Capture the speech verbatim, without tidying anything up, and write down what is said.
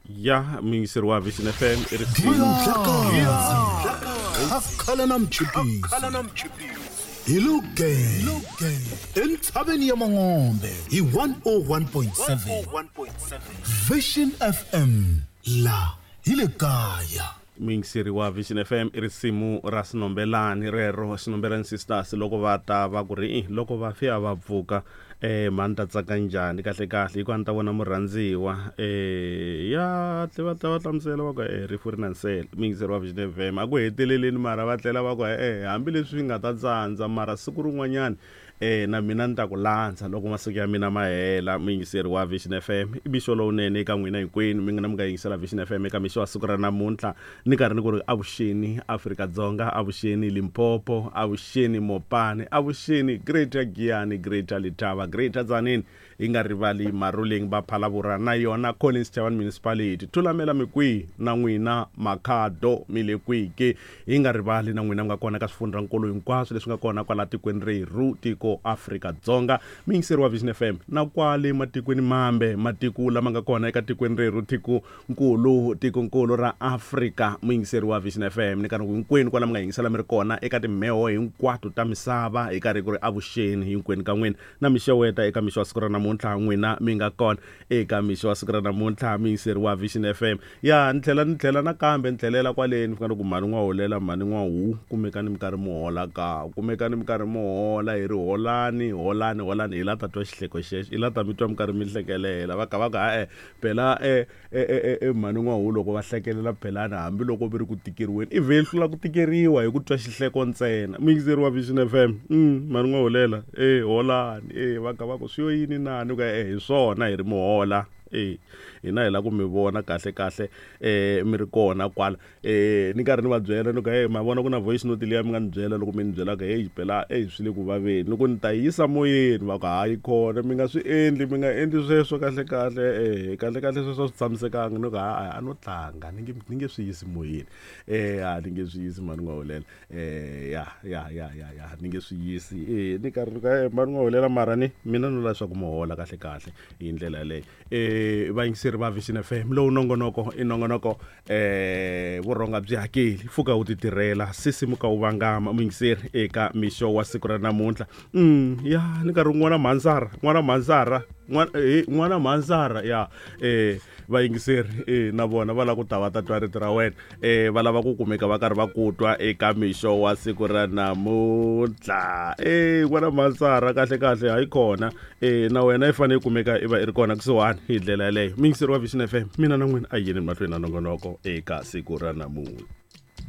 Ya muyingiseri wa Vision F M i risimu Akhala na mchipisi hi Lugeng entshaveni ya Mangombe hi one oh one point seven Vision F M la hi le kaya. Muyingiseri wa Vision F M i risimu ra Xinombelani rero, Xinombelani Sisters loko va ta va ku ri loko va fika va pfuka eh mani ta tsaka njhani kahle kahle hikuva ni ta vona murhandziwa eh ya tle va ta va hlamusela va ku eh rifu ri na nsele. Muyingiseri wa Vision F M a ku heteleleni mara va tlela va ku eh hambileswi nga ta tsandza mara siku rin'wanyana eh na mina ni ta ku landza loko masiku ya mina ma hela. Muyingiseri wa Vision F M i mixo lowunene eka n'wina hinkwenu mi nga na mi nga yingisela Vision F M eka mixo wa siku ra namuntlha ni karhi ni ku ri avuxeni Afrika-Dzonga, avuxeni Limpopo, avuxeni Mopani, avuxeni Greater Giyani, Greater Letaba, Greater Tzaneen, hi nga rivali Maruleng va Phalaborwa na yona Collins Chabane Municipality, Thulamela mikwihi na n'wina Makhado mi le kwihi ke, hi nga rivali na n'wina mi nga kona ka swifundzhankulu hinkwaswo leswi nga kona kwala tikweni rerhu tiko Afrika-Dzonga. Muyingiseri wa Vision F M na kwale matikweni mambe, matiko lama nga kona eka tikweni rerhu tikonkulu tikonkulu ra Afrika. Muyingiseri wa Vision F M ni karhi hinkwenu kwala mi nga yingisela mi ri kona eka timheho hinkwato ta misava hi karhi ku ri avuxeni hinkwenu ka n'wina na mixeweta eka mixo wa siku ra namuntlha n'wina mi nga kona eka mixo wa siku ra namuntlha. Muyingiseri wa Vision F M ya ni tlhela ni tlhela nakambe ni tlhelela kwaleni ni fika ni ku mhani n'wa holela mhani n'wa hu kumekani mi karhi mi hola ka kumekani mi karhi mi hola hi ri holani holani holani hi la ta twa xihleko xexo hi la ta mi twa mi karhi mi hlekelela va ka va ku ha-e phela e e e mhani n'wa hu loko va hlekelela phelana hambiloko vi ri ku tikeriweni i vhe hlula ku tikeriwa hi ku twa xihleko ntsena. Muyingiseri wa Vision F M mm mhani n'wa holela e holani e va ka va ku swi yo yini nani ku e hi swona hi ri muhola e hina hi la ku mi vona kahle kahle eh mi ri kona kwala eh ni karhi ni va byela ni ku hey ma vona ku na voice note liya mi nga ni byela loko mi ni byelaka hey phela hey swi le ku vaveni loko ni ta yisa moyeni va ku hayi khona mi nga swi endli mi nga endli sweswo kahle kahle eh kahle kahle sweswo swi tshamisekanga ni ku ha a no tlanga ni nge ni nge swi yisi moyeni eh a ni nge swi yisi mhani n'wa holela eh ya ya ya ya ya ni nge swi yisi eh ni karhi ni ku hey mhani n'wa holela mara ni mina no la leswaku mi hola kahle kahle hi ndlela yaleyo. Eh vayingiseri va Vision F M lowu nongonoko i nongonoko eh vurhonga byi hakeli pfuka wu ti tirhela sisimuka wu vangama. Muyingiseri eka mixo wa siku ra namuntlha mm ya ni karhi n'wana mhanzara n'wana mhanzara n'wana mhanzara ya eh vayingiseri eh na vona va lava ku ta va ta twa rito ra wena eh va lava ku kumeka va karhi va ku twa eka mixo wa siku ra namuntlha eh n'wana mhanzara kahle kahle hayi kona eh na wena i fanele kumeka i va i ri kona kusuhani hi ndlela yaleyo. Muyingiseri wa Vision F M mina na n'wina a yini mahlweni na nongonoko eka siku ra namuntlha.